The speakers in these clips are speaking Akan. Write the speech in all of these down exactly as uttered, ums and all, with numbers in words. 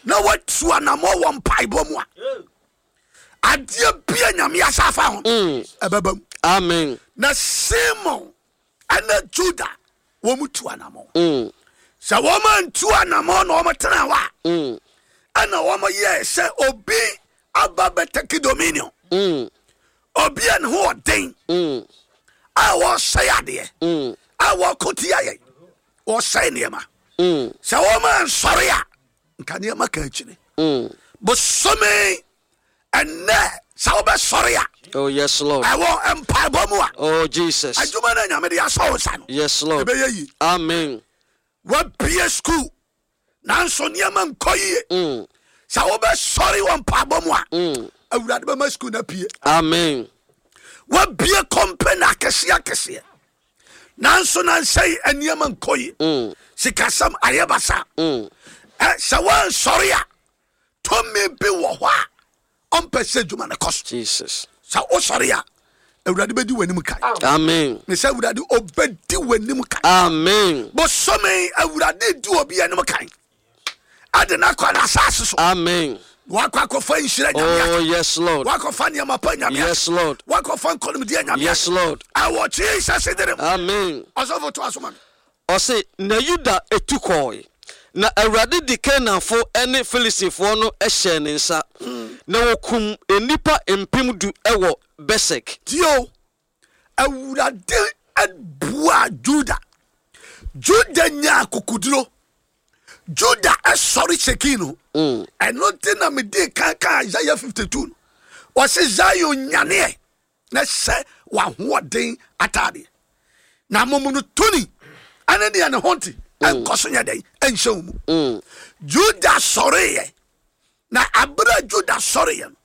Na watu anammɔ wɔ mpaebɔ mu a, adeɛ bia Nyame asa afa ho ɛbɛba mu. Amen. Na Simon ɛne Juda wɔn mu tu anammɔ. Mm. Sɛ wɔn antu anammɔ na wɔn tena hɔ a, Mm. ɛna wɔn yɛ sɛ obi aba bɛtake dominion, Mm. obi a ne ho ɔden Mm. a wɔsɛe adeɛ, Mm. a wɔko tia yɛn, wɔsɛe nneɛma. Mm. Sɛ wɔn ansɔre a, nka nneɛma ka akyire. Mm. Bosome ɛnɛ, sɛ wobɛsɔre a, Oh, yes, Lord. ɛwɔ mpaebɔ mu a, Oh, Jesus. adwuma no a Nyame de asɔ wo nsa no, Yes, Lord. ɛbɛyɛ yi. Amen. Wabie school nanso nneɛma nkɔ yie. Mm. Sɛ wobɛsɔre wɔ mpaebɔ mu a, Mm. Awurade bɛma school no apue. Amen. Wabie company akɛseɛ akɛseɛ nanso nansɛi nneɛma nkɔ yie. Mm. Sikasɛm ayɛ basa. Mm. Ɛ, sɛ woansɔre a, tumi bi wɔ hɔ a ɔmpɛ sɛ adwuma no kɔ so. Jesus. Sɛ wosɔre a, Awurade bɛdi w'anim kan. Amen. Ne sɛ Awurade ɔbɛdi w'anim kan. Amen. Bosome, Awurade di obi anim kan ade no akɔ n'asase so. Amen. Wakɔ akɔfa nhyira Nyame. Oh, yes, Lord. Wakɔfa nneɛma pa Nyame. Yes, Lord. Wakɔfa nkɔnomdeɛ Nyame. Yes, Lord. Ɛwɔ Jesus din mu. Amen. Ɔsɔfo, to aso ma me. Ɔse, na Yuda etu kɔɔe, na Awurade de Kanaanfo ne Filistifoɔ no hyɛɛ ne nsa, na wɔkum nnipa mpem du wɔ Besek. Tio, Awurade bua Juda. Juda nya akokoduro. Juda ɛsɔre kyɛkii no. Ɛno nti na mede kan ka Isaiah fifty-two no, ɔse Zion, nyaneɛ na hyɛ w'ahoɔden ataadeɛ na momono toni ɛne deɛ ne ho nte ɛnkɔ so nyɛ dɛn ɛnhyɛ wo mu. Mm. Juda sɔreyɛ, na abere a Juda sɔreyɛ no,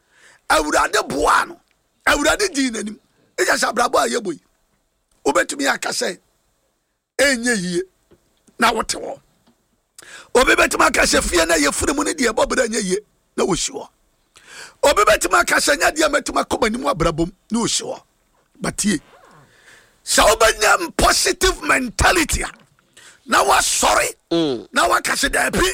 Awurade boaa no, Awurade dii n'anim. Ɛgya sɛ abrabɔ a yɛbɔ yi, wobɛtumi aka sɛ ɛnyɛ yie na wote hɔ. Obi bɛtumi aka sɛ fie no yɛfiri mu no deɛ, ɛbɔ berɛ nyɛ yie na wɔsi hɔ. Obi bɛtumi aka sɛ nyɛ deɛ mɛtumi akɔ m'anim abrabom na wɔsi hɔ. Batie, sɛ wobɛnya positive mentality a, na wasɔre Mm. na waka sɛ daabi,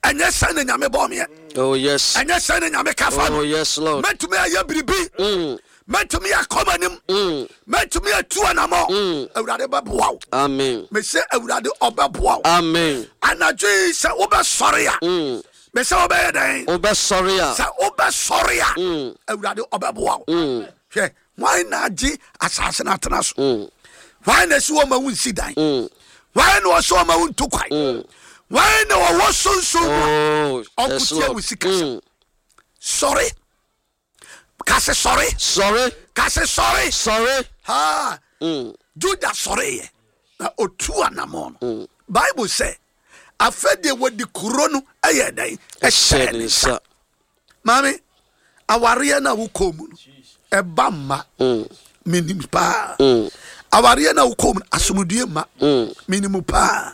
ɛnyɛ sɛ ne Nyame bɔ meɛ. Oh, yes. Ɛnyɛ sɛ ne Nyame ka fa Oh, no. yes, Lord. Mɛtumi ayɛ biribi. Mm. Mɛtumi akɔ m'anim. Mm. Mɛtumi atu anammɔ. Mm. Awurade bɛboa wo. Amen. Mesɛ Awurade ɔbɛboa wo. Amen. Anadwo yi, sɛ wobɛsɔre a, Mm. mesɛ wobɛyɛ dɛn? Wobɛsɔre a. Sɛ wobɛsɔre a, Mm. Awurade ɔbɛboa wo. Mm. Hwɛ, hwan na agye asase no atena so? Mm. Hwan na ɛsi wɔ ma wo nsi dan? Mm. Hwan na ɔsɛ ɔma wo nto kwan? Mm. Hwan na ɔwɔ sunsun mu a Oh, yes, ɔnkotia Lord. wo sikasɛm? Mm. Sɔre, kase sɔre. Sɔre. Kase sɔre. Sɔre. Ha. Mm. Juda sɔreyɛ na otu anammɔ no, Bible sɛ afɛ deɛ wɔdi kuro no ɛyɛ dɛn? Ɛhyɛ ne nsa. Maame, awareɛ no a wokɔɔ mu no, ɛba mma. Mm. Menim paa. Mm. Awareɛ no a wokɔɔ mu no, asomdue mma. Mm. Menim paa.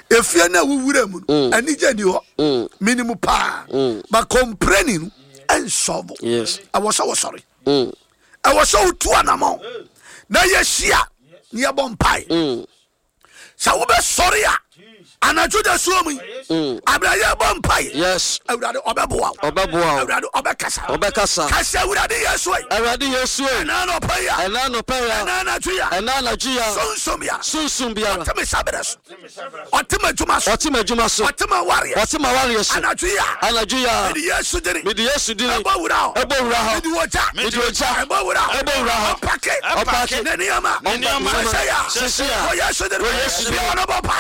Efie no a wowura mu no, anigye ni hɔ. Mm. Menim paa. Mm. But complaining no ɛnsɔbo. Yes. Ɛwɔ sɛ wɔsɔre. Mm. Ɛwɔ sɛ wotu anammɔn na yɛhyia na yɛbɔ mpae. Mm. Sɛ wobɛsɔre a, anadwo da suo mu yi, Mm. aberɛ yɛbɔ mpae, Yes. Awurade ɔbɛboa wo. Ɔbɛboa wo. Awurade ɔbɛkasa. Ɔbɛkasa. Kasa, Awurade Yesu yi. Awurade Yesu yi. Ɛna anɔpa yi a, Ɛna anɔpa yi a, ɛna anadwo yi a, ɛna anadwo yi a, sunsum ya sunsum biara, ɔte me saberɛ so, ɔte m'adwuma so, ɔte m'adwuma so, ɔte m'awareɛ, ɔte m'awareɛ so, anadwo yi a, anadwo yi a, mede Yesu dini mede Yesu dini ɛbɔ wura hɔ. Ɛbɔ wura hɔ. Mede wɔgya. Mede ogya. Ɛbɔ wura hɔ. Ɛbɔ wura hɔ. Ɔpake. Ɔpake. Ne nneɛma. Ne nneɛma. Sɛsɛ ya. Sɛsɛ ya. Wɔ Yesu dini. Wɔ Yesu dini. Bia ɔno bɔ pa.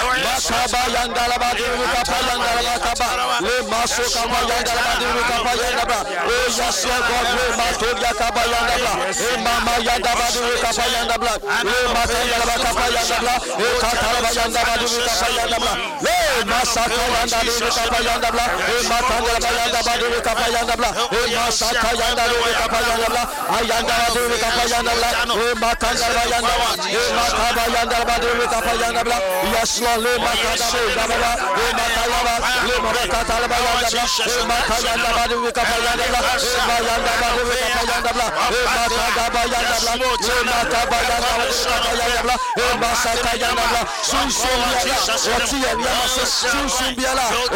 Makaba yandalaba diri kapa yandalaba kaba le maso kaba yandalaba diri kapa yandaba. Oh yes, Lord God. Le matoria kaba yandabla e mama yandaba diri kapa yandabla le mata yandaba kapa yandabla e katalaba yandaba diri kapa yandabla le masaka yanda diri kapa yandabla e mata yandaba yandaba diri kapa yandabla e masaka yanda diri kapa yandabla ayandaba diri kapa yandabla e mata yandaba yandaba e makaba yandaba diri kapa yandabla. Yes, Lord. Le makaba yandaba e matalaba le makatalaba yandabla e makayandaba diri kapa yandabla e mayandaba diri kapa yandabla e makadaba yandabla le makaba yandaba diri kapa yandabla e masaka yandabla. Sunsun biara ɔte yɛ nneɛma so, sunsun biara.